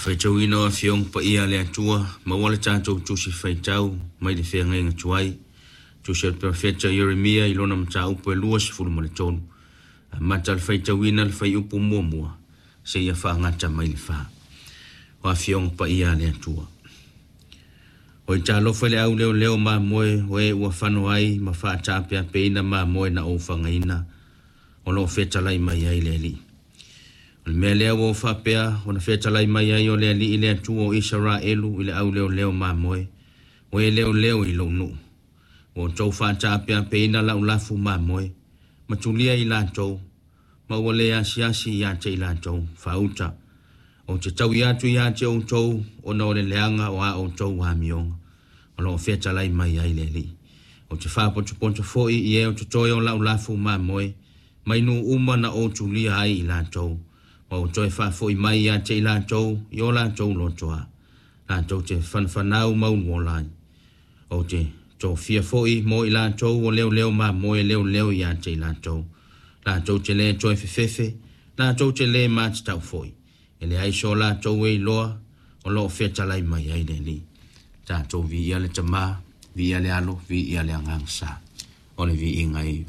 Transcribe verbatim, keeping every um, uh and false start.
Faitauina o Afioga Paia a le Atua, maua le tatou tusi faitau mai le feagaiga tuai, tusi a le Perofeta Ieremia i lona mataupu e luasefulu ma le tolu, amata le faitauina le fuaiupu muamua seia faagata mai le fa. O Afioga Paia a le Atua. O i talofa i le au leoleo mamoe o e ua fano ai ma faataapeapeina mamoe na ou fagaina, o lo o fetalai mai ai le Alii. O le mea lea ua ou faapea ona fetalai mai ai o le Alii le Atua o Isaraelu i le au leoleo mamoe, o e leoleo i lou nuu. Ua outou faataapeapeina lau lafu mamoe, ma tulia i latou, ma ua le asiasi ia te i latou, faauta. Ou te taui atu ia te outou ona o le leaga o a outou amioga, o lo o fetalai mai ai le Alii. Ou te faapotopoto foi i e o totoe o lau lafu mamoe, mai nuu uma na ou tulia ai i latou, ma ou toe faafoi mai ia te i latou i o latou lotoa, latou te fanafanau ma uluola ai. Ou te tofia foi mo i latou o leoleo mamoe leoleo ia te i latou, latou te le toe fefefe, latou te le matatau foi, e leai so latou e iloa, o lo o fetalai mai ai le Alii. Tatou viia le Tamā, viia le Alo, viia le Agaga Sa. O le viiga e